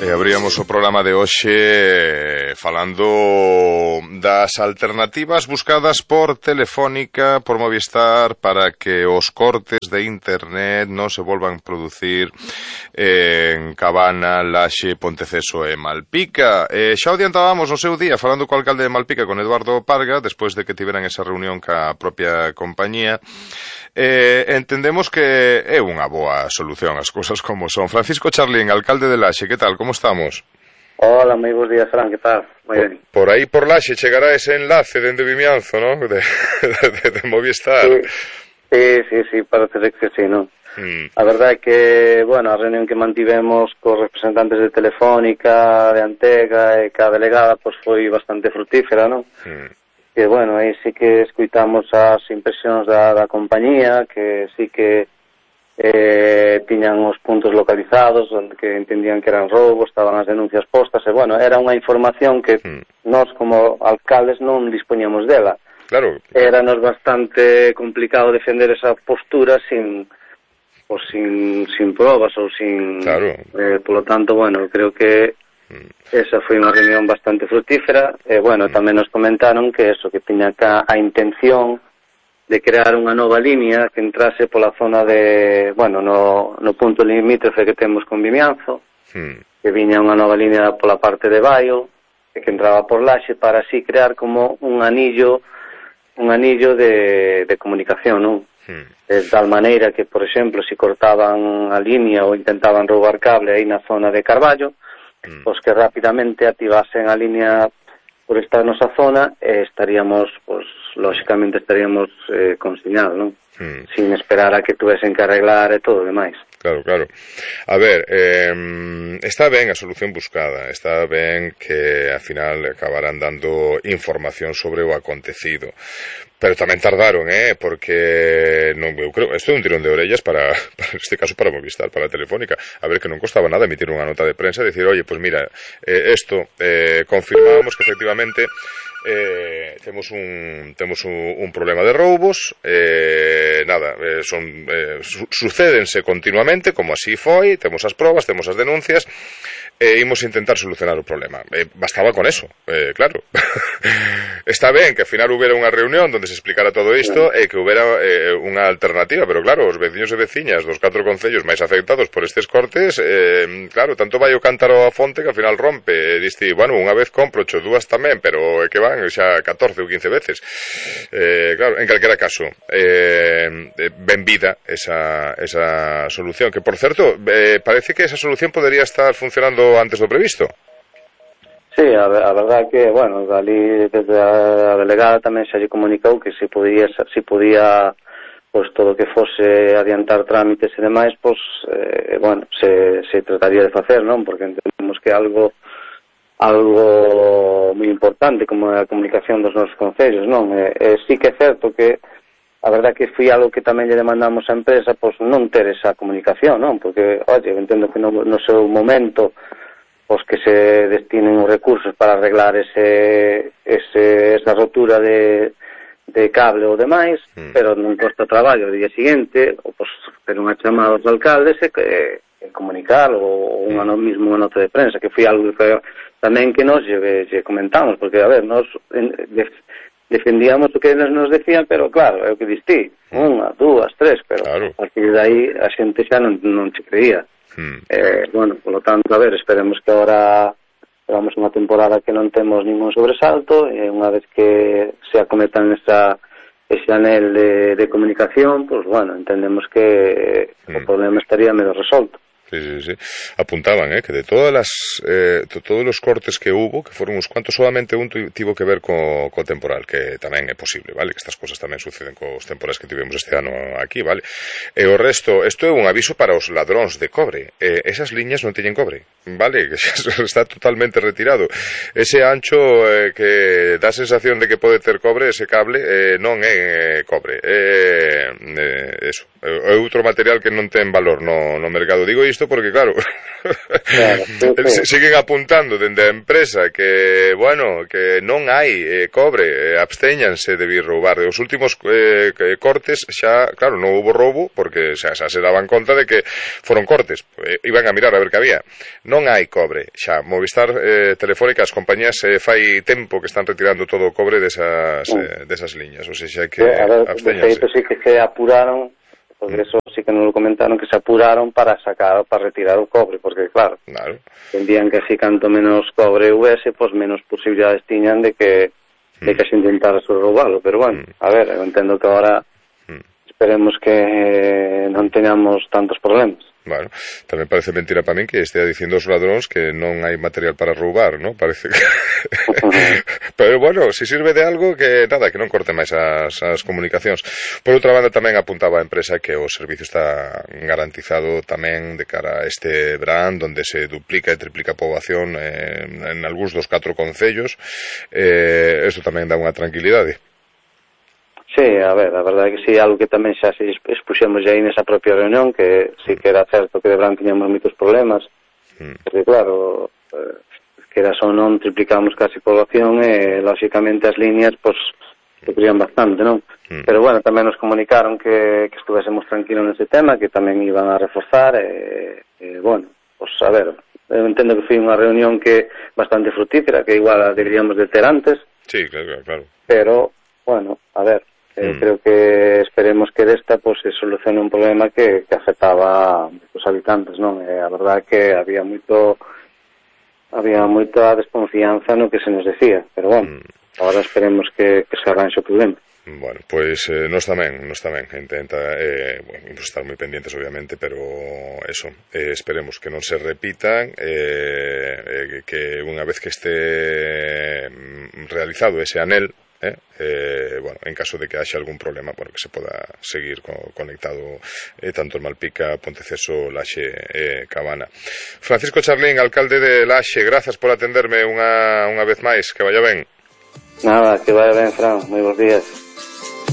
Abríamos o programa de hoxe falando das alternativas buscadas por Telefónica, por Movistar, para que os cortes de internet non se volvan a producir en Cabana, Laxe, Ponteceso e Malpica. Xa o adiantábamos no seu día falando co alcalde de Malpica, con Eduardo Parga, despois de que tiveran esa reunión ca propia compañía. Entendemos que é unha boa solución as cousas como son. Francisco Charlín, alcalde de Laxe, que tal, como estamos? Hola, moi bons días, Fran, que tal? Moi ben. Por aí por Laxe chegará ese enlace dende Vimianzo, ¿no? de Movistar. Sí, parece que sí, ¿no? A verdade é que, bueno, a reunión que mantivemos cos representantes de Telefónica, de Antega e ca delegada, pois foi bastante frutífera, ¿no? Que, bueno, aí sí que escuitamos as impresións da compañía, que sí que tiñan os puntos localizados, onde que entendían que eran roubos, estaban as denuncias postas, e, bueno, era unha información que nós como alcaldes non dispoñamos dela. Claro. Éranos bastante complicado defender esa postura sin probas ou sin... Claro. Polo tanto, bueno, creo que esa foi unha reunión bastante frutífera e, bueno, tamén nos comentaron que eso, que tiña a intención de crear unha nova línea que entrase pola zona de, bueno, no punto limítrofe que temos con Vimianzo, que viña unha nova línea pola parte de Baio, que entraba por Laxe, para así crear como un anillo de comunicación, non? De tal maneira que, por exemplo, se cortaban a línea ou intentaban roubar cable aí na zona de Carballo, pois que rapidamente activasen a línea por esta nosa zona e estaríamos, pois, lóxicamente estaríamos consignados, non? Sin esperar a que tuvesen que arreglar e todo o demais. Claro. A ver, está ben a solución buscada, está ben que ao final acabaran dando información sobre o acontecido, pero tamén tardaron, porque non, eu creo, isto é un tirón de orellas para este caso para Movistar, para Telefónica, a ver que non costaba nada emitir unha nota de prensa e dicir, oye, pues mira, isto confirmamos que efectivamente temos un problema de roubos, sucédense continuamente, como así foi, temos as probas, temos as denuncias, e imos intentar solucionar o problema. Bastaba con eso, claro. Está ben que ao final houbera unha reunión onde se explicara todo isto e que houbera unha alternativa, pero claro, os veciños e veciñas dos 4 concellos máis afectados por estes cortes, claro, tanto vai o cántaro a fonte que ao final rompe, e diste, bueno, unha vez compro, dúas tamén, pero é que van xa 14 ou 15 veces. Claro, en calquera caso, benvida esa solución, que por certo, parece que esa solución podería estar funcionando antes do previsto. Sí, a verdade que, bueno, dali desde a delegada tamén xa lle comunicou que se podía pois todo que fose adiantar trámites e demais, pois, bueno, se trataría de facer, non? Porque entendemos que algo moi importante como a comunicación dos nosos concellos, non? Sí que é certo que a verdade que foi algo que tamén lle demandamos á empresa, pois non ter esa comunicación, non? Porque, oye, entendo que no seu momento pois que se destinen os recursos para arreglar esa rotura de cable ou demais, pero non costa traballo o día seguinte, ou pois ter unha chamada aos alcaldes e comunicar ou unha nota de prensa, que foi algo que tamén que nos lle comentamos, porque, a ver, nos defendíamos o que nos decían, pero claro, é o que distí, 1, 2, 3, pero claro, a partir de aí a xente xa non se creía. Bueno, polo tanto, a ver, esperemos que agora vamos unha temporada que non temos ningún sobresalto e unha vez que se acometan ese anel de comunicación, pues bueno, entendemos que o problema estaría medio resolto. Sí. Apuntaban, que de todos os cortes que hubo, que foron uns cuantos, solamente un tivo que ver co temporal, que tamén é posible, vale? Que estas cosas tamén suceden cos temporais que tivemos este ano aquí, vale? E o resto, isto é un aviso para os ladróns de cobre. Esas liñas non teñen cobre, vale? Que xa está totalmente retirado. Ese ancho que dá a sensación de que pode ter cobre, ese cable, non é cobre. É outro material que non ten valor no mercado. Digo isto porque, claro, Claro, Siguen apuntando dende a empresa que, bueno, que non hai cobre, abstéñanse de vir roubar. Os últimos cortes xa, claro, non houbo roubo porque xa se daban conta de que foron cortes, iban a mirar a ver que había. Non hai cobre, xa Movistar, Telefónica, as compañías fai tempo que están retirando todo o cobre desas liñas, ou seja, que abstéñanse. De feito, sí que se apuraron, porque eso sí que nos lo comentaron, que se apuraron para retirar o cobre, porque claro, entendían que así canto menos cobre hubiese, pues menos posibilidades tiñan de que se intentara roubalo, pero bueno, a ver, eu entendo que ahora esperemos que non teñamos tantos problemas. Bueno, tamén parece mentira para min que estea dicindo os ladróns que non hai material para roubar, ¿no? Parece que... Pero bueno, se sirve de algo, que nada, que non corte máis as comunicacións. Por outra banda, tamén apuntaba a empresa que o servicio está garantizado tamén de cara a este verán, donde se duplica e triplica a poboación en algúns dos 4 concellos. Isto tamén dá unha tranquilidade. Sí, a ver, a verdade é que sí, algo que tamén xa se expuxemos aí nesa propia reunión, que sí que era certo que de verán tiñamos moitos problemas, porque claro, que era só non triplicamos casi población e, lóxicamente, as líneas, pois, sufrían bastante, non? Pero, bueno, tamén nos comunicaron que estuvésemos tranquilos nese tema, que tamén iban a reforzar, bueno, pois, a ver, eu entendo que foi unha reunión que bastante frutífera, que igual a deberíamos de ter antes. Sí, claro. Pero, bueno, a ver, creo que esperemos que desta pues, se solucione un problema que afectaba a os habitantes, non? A verdade é que había moita desconfianza no que se nos decía, pero bueno, agora esperemos que se arranxe o problema. Bueno, pois nos tamén intenta estar moi pendientes obviamente, pero eso, esperemos que non se repitan, que unha vez que este realizado ese anel, bueno, en caso de que haxa algún problema, bueno, que se poda seguir conectado tanto en Malpica, Ponteceso, Laxe e Cabana. Francisco Charlín, alcalde de Laxe, grazas por atenderme unha vez máis, que vaya ben. Nada, que vaya ben, Fran, moi bons días.